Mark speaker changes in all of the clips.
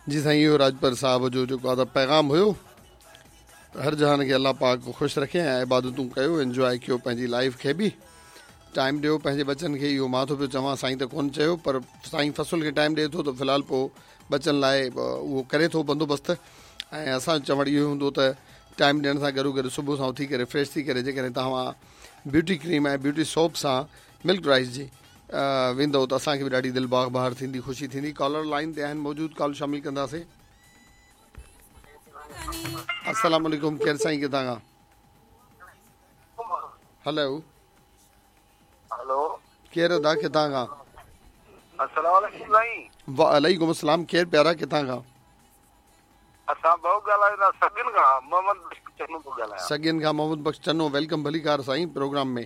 Speaker 1: جي سائين اهو راڄپر صاحب جو جيڪو آ ته پيغام هيو ته هر جهان کي الله پاڪ خوش رکي ۽ عبادتون ڪيو انجواء ڪيو پنهنجي لائيف کي به ٽائيم ڏيو پنهنجي ٻچن کي اهو مان ٿو پيو چوان سائين ته ڪون چيو پر سائين فصل کي ٽائيم ڏئي ٿو ته في الحال پوء ٻچن لاء اهو ڪري ٿو بندوبست ۽ اسان جو چوڻ اهو هوندو ته ٽائيم ڏيڻ سان گڏو گڏ صبح سان اٿي ڪري فريش ٿي ڪري جيڪڏهن توهان بيوٽي ڪريم ۽ بيوٽي سوپ سان ملڪ رائس جي ويندؤ ته اسان کي به ڏاڍي دل باغ بهار ٿيندي خوشي ٿيندي ڪالر لائين تي آهن موجود ڪال شامل ڪنداسين السلام عليڪم ڪير سائين ڪٿان کان هلو
Speaker 2: هلو
Speaker 1: ڪير ادا ڪٿان کان
Speaker 2: السلام عليڪم سائين
Speaker 1: وعليڪم السلام ڪير پيارا ڪٿان کان
Speaker 2: اسان ڀائو ڳالهايون ٿا سڳين کان محمد بخش چنو ٿو ڳالهايان
Speaker 1: سڳين کان محمد بخش چنو welcome ڀليڪار سائين پروگرام ۾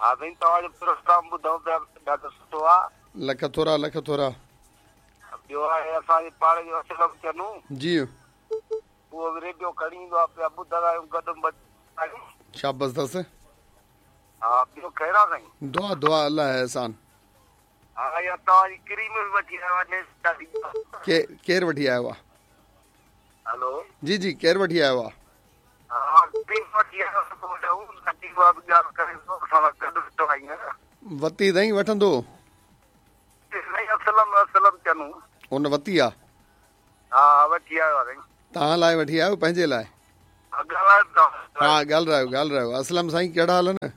Speaker 2: ها سائين توهان جو پروگرام ٻڌون پيا ڏاڍو سٺو آ.
Speaker 1: لک ٿورا لک ٿورا.
Speaker 2: ٻيو آهي اسان جي پاڙي جو اسلم چنو.
Speaker 1: جي.
Speaker 2: اهو به ريڊيو کڻي ايندو آ پيا ٻڌندا آهيون گڏ آهيون.
Speaker 1: شابس اٿس.
Speaker 2: ها ٻيو خير آ سائين.
Speaker 1: دعا دعا الله جو احسان.
Speaker 2: ها اها توهان جي ڪريم به وٺي آيو آ نيسٽا جي.
Speaker 1: ڪير وٺي آيو آ.
Speaker 2: هلو.
Speaker 1: جي جي ڪير وٺي آيو آ. وتي تائين وٺندو. ان وتي آ. توهان لاء وٺي آيو پنهنجي لاء. ها ڳالهرايو ڳالهرايو اسلم سائين ڪهڙا حال آهن.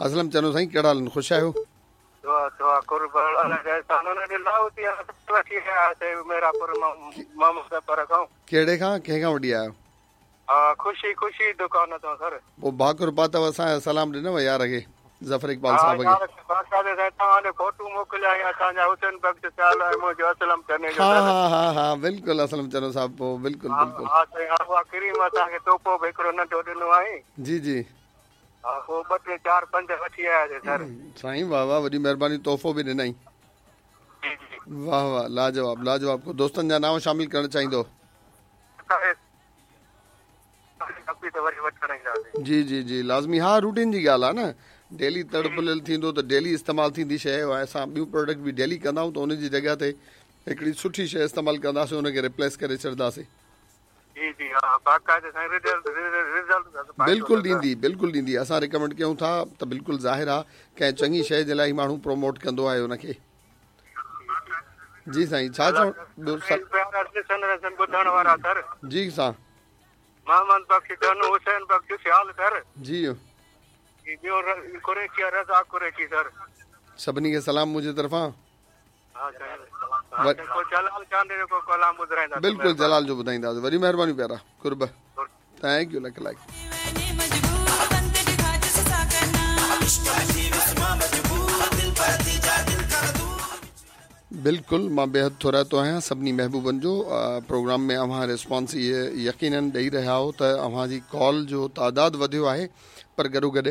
Speaker 1: اسلم چنو سائين ڪهڙا حال آهن خوش آهيو.
Speaker 2: دعا دعا قرب الله جا احسان ان ڏي لاهوتي وٺي آيا سي ميراپور مان محمد پر کان.
Speaker 1: ڪهڙي کان ڪنهن کان وٺي آيو.
Speaker 2: ها خوشي خوشي دڪان تان سر.
Speaker 1: پوء ڀاڪر پاتو اسان جو سلام ڏنو يار کي ظفر اقبال صاحب کي.
Speaker 2: ها يار کي باقاعده سائين توهان ڏي فوٽو موڪليا ۽ اسان جا حسين بخش سيال ۽ منهنجو اسلم چني جو
Speaker 1: ها ها ها ها بلڪل اسلم چنو صاحب پوء بلڪل بلڪل.
Speaker 2: ها سائين ها اها ڪريم اسان کي تحفو به هڪڙو ننڍو ڏنو آهي.
Speaker 1: جي جي.
Speaker 2: ها پوء ٻه ٽي چار پنج وٺي آياسين سر.
Speaker 1: سائين واه واه وڏي مهرباني تحفو به ڏنائين.
Speaker 2: جي جي.
Speaker 1: واه واه لاجواب لاجواب ڪو دوستن جا نانء شامل ڪرڻ چاهيندو. جي جي جي لازمي ها روٽين جي ڳالهه آ نه ڊيلي تڙ ڦليل ٿيندو ته ڊيلي استعمال ٿيندي شيء ۽ اسان ٻيون پروڊڪٽ به ڊيلي ڪندا آهيون ته ان جي جڳهه تي هڪڙي سٺي شيء استعمال ڪنداسين ان کي ريپليس ڪري ڇڏنداسين.
Speaker 2: جي جي ها باقاعده سائين رزلٽ رزلٽ ته
Speaker 1: بلڪل ڏيندي بلڪل ڏيندي اسان ريڪمينڊ ڪيون ٿا ته بلڪل ظاهر آ ڪنهن چڱي شيء جي لاء ئي ماڻهو پروموٽ ڪندو آهي ان کي جي سائين ڇا چوڻ ٻيو
Speaker 2: پيارا ڏسن رسن ٻڌڻ وارا سر
Speaker 1: جي سان
Speaker 2: محمد بخش چنو حسين بخش سيال سر
Speaker 1: جي
Speaker 2: جي ٻيو قريشي رضا قريشي سر
Speaker 1: سڀني کي سلام منهنجي طرفان بلڪل جلال جو ٻڌائينداسين وڏي مهرباني پيارا قرب thank you lakh lakh. بلڪل مان بيحد ٿورائتو آهيان سڀني محبوبن جو پروگرام ۾ اوهان ريسپانس يقينن ڏئي رهيا آهو ته اوهان جي ڪال جو تعداد وڌيو آهي پر گڏو گڏ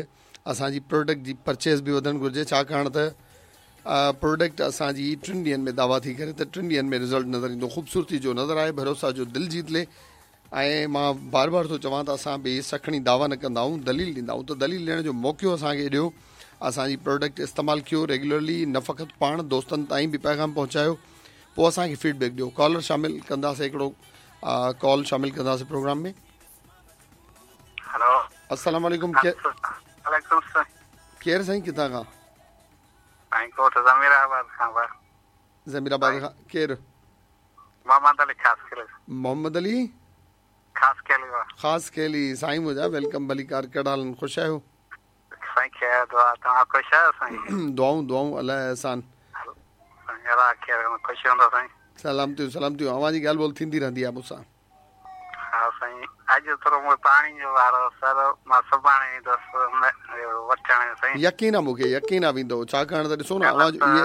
Speaker 1: اسان جي پروڊڪٽ جي پرچيز به وڌڻ گهرجي ڇاڪاڻ ته پروڊڪٽ اسان جي ٽن ڏينهن ۾ دعويٰ ٿي ڪري ته ٽن ڏينهن ۾ رزلٽ نظر ايندو خوبصورتي جو نظر آهي ڀروسا جو دل جيت لي ۽ مان بار بار ٿو چوان ته اسان بي سکڻي دعويٰ نه ڪندا آهيون دليل ڏيندا آهيون ته دليل ڏيڻ جو موقعو اسان کي ڏيو اسان جي پروڊڪٽ استعمال ڪيو ريگولرلي نه فقط پاڻ دوستن تائين به پيغام پهچايو پوء اسان کي فيڊ بيڪ ڏيو ڪالر شامل ڪنداسين هڪڙو ڪال شامل ڪنداسين پروگرام ۾
Speaker 2: هلو
Speaker 1: السلام عليڪم
Speaker 2: وعليڪم السلام
Speaker 1: ڪير سائين ڪٿان کان
Speaker 2: سائين ڳوٺ ضمير آباد کان با
Speaker 1: ضمير آباد کان ڪير؟
Speaker 2: محمد علي خاصخيلي.
Speaker 1: محمد علي
Speaker 2: خاصخيلي با.
Speaker 1: خاصخيلي سائين منهنجا welcome ڀليڪار ڪهڙا حال آهن خوش آهيو؟
Speaker 2: سائين خير دعا توهان خوش آهيو سائين؟
Speaker 1: دعائون دعائون الله جو احسان.
Speaker 2: سائين الله خير خوش هوندو سائين.
Speaker 1: سلامتيون سلامتيون اوهان جي ڳالهه ٻولهه ٿيندي رهندي آهي مون سان.
Speaker 2: ها سائين اڄ ٿورو مون کي پاڻي جو وارو سر مان سڀاڻي ايندس وٺڻ سائين.
Speaker 1: يقين آ مونکي يقين آ ويندو ڇاڪاڻ ته ڏسو نه اوهان جو اهي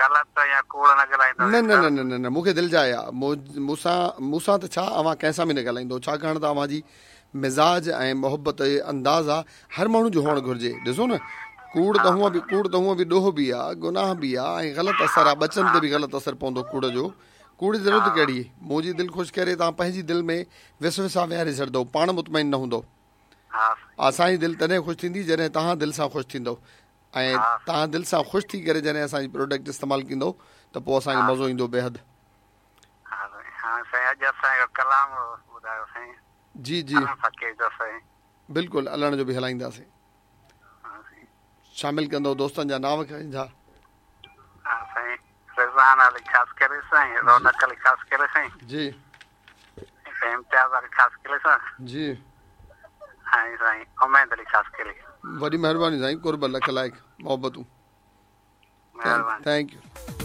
Speaker 2: غلط يا ڪوڙ نه ڳالهائيندو
Speaker 1: نه نه نه نه نه مونکي دل جاء آ مون سان مون سان ته ڇا اوهان ڪنهن سان به نه ڳالهائيندو ڇاڪاڻ ته اوهان جي مزاج ۽ محبت جو انداز آ هر ماڻهو جو هئڻ گهرجي ڏسو نه ڪوڙ ته هونء به ڪوڙ ته هونء به ڏوهه به آ گناهه به آ ۽ غلط اثر آ ٻچن تي به غلط اثر پوندو ڪوڙ جو ڪوڙ جي ضرورت ڪهڙي؟ منهنجي دل خوش ڪري توهان پنهنجي دل ۾ وسوسا ويهاري ڇڏندؤ، پاڻ مطمئن نه هوندؤ. اسان جي دل تڏهن خوش ٿيندي جڏهن توهان دل سان خوش ٿيندؤ. ۽ توهان دل سان خوش ٿي ڪري جڏهن اسان جي پروڊڪٽ استعمال ڪندو ته پوء اسان کي مزو ايندو بيحد.
Speaker 2: ها سائين ها سائين اڄ اسان جو ڪلام ٻڌايو سائين.
Speaker 1: جي جي.
Speaker 2: علڻ فقير جو سائين.
Speaker 1: بلڪل علڻ جو به هلائينداسين.
Speaker 2: ها سائين.
Speaker 1: شامل ڪندو دوستن جا نانء ڪنهن جا.
Speaker 2: ها سائين رضوان علي خاصخيلي سائين رونق علي خاصخيلي سائين.
Speaker 1: جي.
Speaker 2: سائين امتياز علي خاصخيلي سان.
Speaker 1: جي.
Speaker 2: ۽ سائين اميد علي خاصخيلي.
Speaker 1: وڏي مهرباني سائين قرب لک لائق محبتون.
Speaker 2: مهرباني.
Speaker 1: Thank you.